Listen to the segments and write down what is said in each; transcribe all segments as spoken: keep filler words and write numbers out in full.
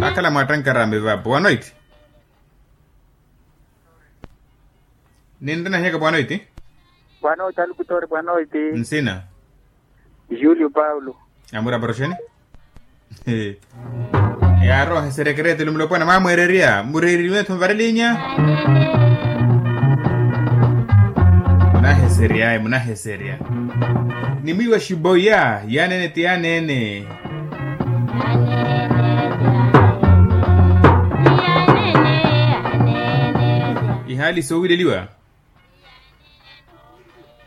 Akhala mwattankaraame vapo wanoiti. Ninrina hiyaka bwanoiti. Bwanoiti alukutore bwanoiti. Nsina. Julio paulo. Amura poroxeni. Yaaroha eserekereto lumulopwana mwamweererya mureereriwe-tho mvarelinya. Munaheseryaye munaheserya. Nimwiiwa xiboya yaneene ti yaneene. Ihaali soowileliwa.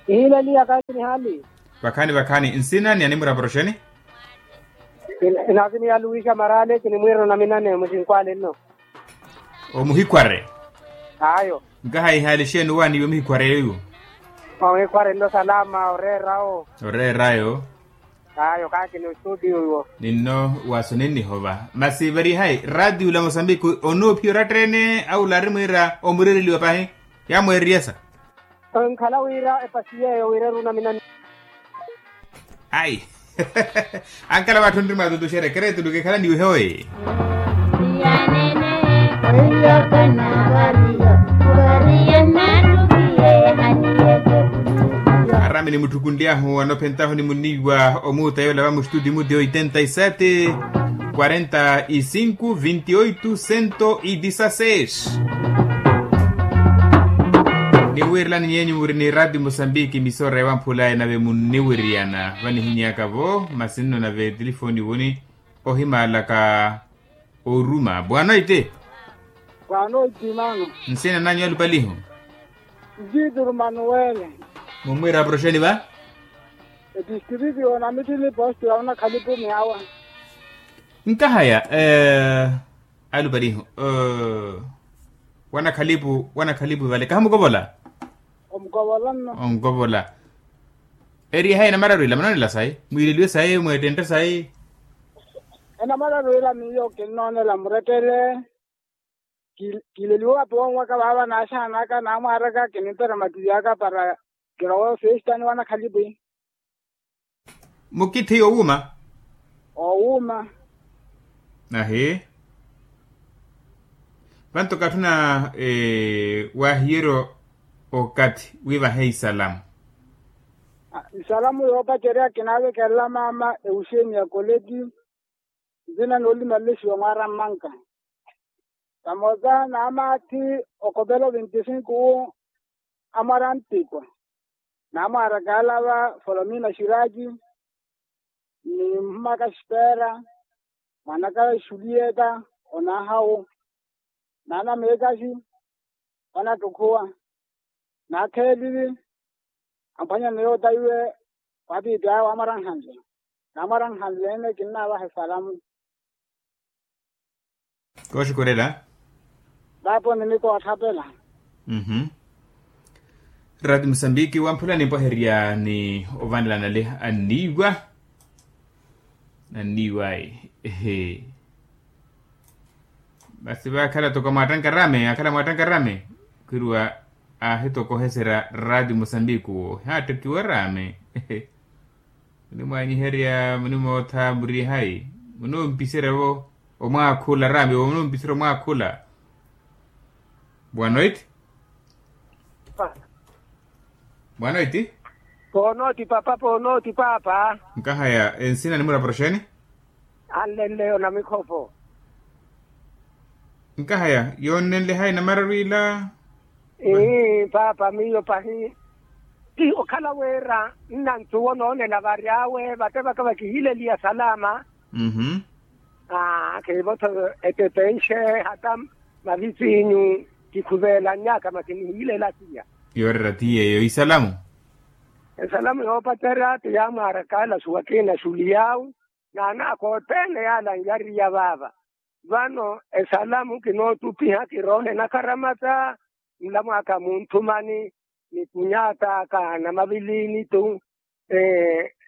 Ihiileliya kaakini haali. Vakhaani vakhaani nsina ni animura poroxeni. Inaakini ya luwixa maraale kinimwiirana naminane muxinkwaale nno. Omuhikhware. Ayo. Nkaha ihaali exeeni owaaniiwe omuhikhware yoiwo. Omuhikhware nno salama oreerawo. Oreerayo. Ayo kaakini ostudio iwo. Ninno waaso ninnihova masi varihayi raatiyo la mosambiki. Onoophiya oratta-ene awo laari mwiira omureereliwa pahi. Yaamweereriyasa. Enkhala wira epasi yeeyo wira erunaminani. Ayi. Ankhala vatthu nri mwaatutuxerya ekereto lukikhala niwihe oyi. Arami nimutthukunly'ahu anophentahu nimunniiwa omuuta yoola va mustutiyo muti oitenta y sete, quarenta y cinco vintioito cento y disaseis. Niwiirilani nyeenyu muri ni raatiyo mosambiki emisora ya vamphula enave munniwiriyana vanihinyaka-vo masi nno nave tilifooni woni. Ohimaalaka oruma bwanoiti. Bwanoiti maana. Nsina nanyu alupalihu. Ntiituru manuwele. Mummwiira aproxeni va. Etistriti onamithili posti ya wanakhalipu miyawa. Nkahaya alupalihu. Wanakhalipu wanakhalipu vale kahamukovola. Omukovola nno. Onkovola. Eriye hayi enamararu ila munonela sayi mwiileliwe sayi mweettentte sayi. Enamararu ila miyo kinnoonela murettele. Kiileliwe wapi wonwaka vaava naaxaanaka naamwaaraka kinimperya mativi aka para kirowa ofesta ni wanakhalipi. Mukithi owuuma. Owuuma. Ahi. Vanto katthuna waahiyerya okathi wiivahe isalamu. Isalamu yoopacerya kinaavekelela maama ewuxeeni ya koleti. Nzina noolimalelexiwa mwaara mmanka. Vamosa naamaathi okopela oventisinko wu amwara nttikwa. Naamwaaraka alava folomina xiraki ni mhumaka xipera mwanaka xuliyeta. Onaahawu naana meekaxi. Onattukhuwa naakheelivi. Amphwanyana yootayiwe waapitaya waamwaranhanle. Naamwaranhanle-ene kinnaavaha esalamu. Kooxikorela. Vaapo ninikootthapela. Mhuu. Raati musambiki wamphula nimpwaherya ni ovanelanale anniiwa. Anniiwa ayi. Masi vaakhala toko mwaattankarame akhala mwaattankarame. Khwiruwa aahitokoheserya raati musambiki wo haattekiwa raame. Munimwaanyiherya munimootha murihayi. Munompiserya-vo omwaakhula raami-vo munompiserya omwaakhula. Bwanoiti. Bwanoiti. Poonooti papa poonooti papa. Nkahaya ensina nimuraproxeni. Anlenleyo na mikhopho. Nkahaya yoonnenle hayi namararu ila. Ii paapa miyo pahi. Ti okhala wira nnantuwa onoonela vary'awe vate vaka vakihileliya salama. Mmm. Aa khiivo-tho etepenxe hata mavisiinyu kikhuveelannyaka masi nihilela siya. Yoorera ti yeeyo isalamu. Esalamu yoopacerya ti yaamwaaraka alasuwa kiina xuliy'awe. N'anaaka othene yaala anyariya vaava. Vano esalamu kinootupiha kiroohe nakharamata. Nlamwaaka munthumani ni kunyat'aka namaviliini-tu.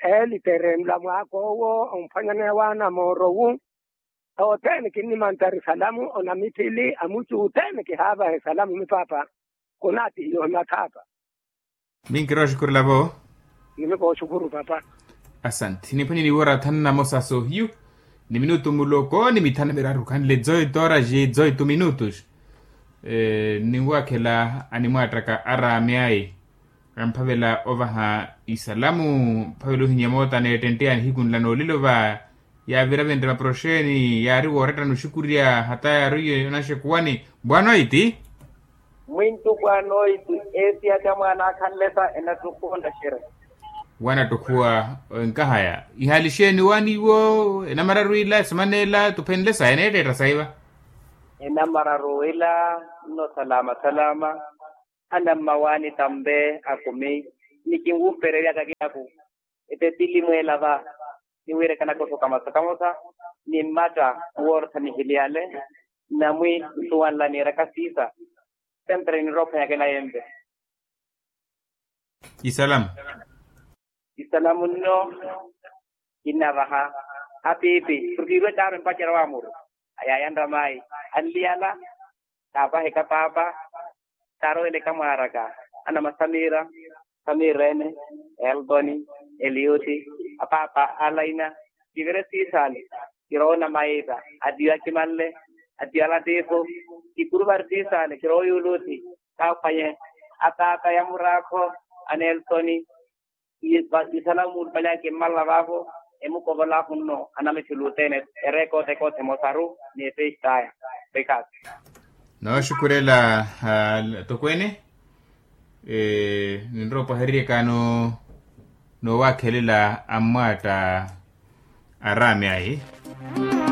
Eelitere nlamwaaka owo omphwanyaneya waana mooro-wu. Othene kinnimantari salamu onamithili amuchu othene kihaavaha esalamu mipaapa. Kunaatihiwa ohimathaapa. Minkira oxukurela-vo. Nimikooxukuru papa. Asanti niphwanye niiwora thanu namosa soohiyu. ni minutu muloko ni mithanu miraru khanle dezoito horas e dezoito minutos. Ninwakhela animwaattaka araami ayi, amphavela ovaha isalamu mphavela ohinya moota neettentteyani hiku nla noolilo va. Yaavira vinre maproxeni yaari woorettana oxukurya hata yaari onaxekuwani. Bwana oiti. Mwintthu bwana oiti, eesi ati amwaana akhanle sa enattukhuwa ontaxerya. Wanattukhuwa. Enkahaya ihaali xeeni waani iwo? Enamararu ila esemana ela tuphenle saya eneetteetta saiva. Enamararu ila nno salama salama. Anammawaani tampe akumi ni kinwuupereryaka kinaku. Epepili mweela va niwiirekanaka oxuka masu kamosa ni mmatta nwoorotha nihiliyale. Namwi nsuwanla niiraka siisa. Sempre ninrowa ophwanyaka enayempe. Isalamu. Isalamu nno kinnavaha apiipi porke iirwe taaru empacerya wa muru. Ayaya nramayi anliyala. Taapaheka paapa taaroweleka mwaaraka. Anama samira, samirene, eltoni, eliuti, apaapa alaina. Kivire siisale kirowa onamayiita. Atiyo akimanle, atiyo alatifu. Kikuruvari siisale kirowa oyuluti. Kaaphwanye ataata ya muraakho, anelsoni. Isalamu mulupale akimmala vaavo emukovola akhunno anameshe oluteene. Erekote kote mosaru ni efeistaya. Rikhaasi. Nooxukurela atokweene. Ninrowa opwahereryaka noowakhelela ammwaatta araami ayi.